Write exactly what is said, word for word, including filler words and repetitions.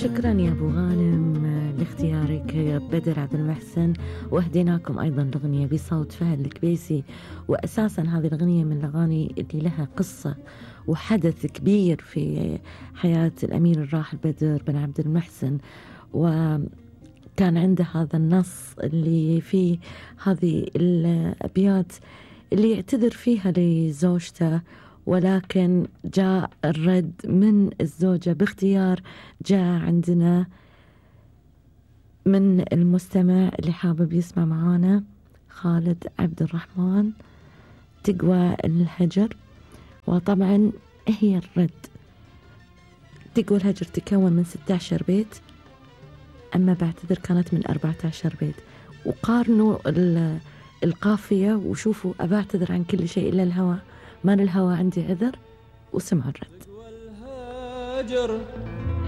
شكرا يا أبو غانم لاختيارك بدر عبد المحسن، وأهديناكم أيضا الأغنية بصوت فهد الكبيسي. وأساسا هذه الأغنية من الأغاني اللي لها قصة وحدث كبير في حياة الأمير الراحل بدر بن عبد المحسن، وكان عنده هذا النص اللي فيه هذه الأبيات اللي يعتذر فيها لزوجته، ولكن جاء الرد من الزوجة باختيار. جاء عندنا من المستمع اللي حابب يسمع معانا خالد عبد الرحمن، تقوى الهجر. وطبعا هي الرد، تقوى الهجر تكون من ستة عشر بيت، أما بعتذر كانت من أربعة عشر بيت. وقارنوا القافية وشوفوا، أبعتذر عن كل شيء إلا الهوى، ما للهوى عندي عذر، وسمع الرد.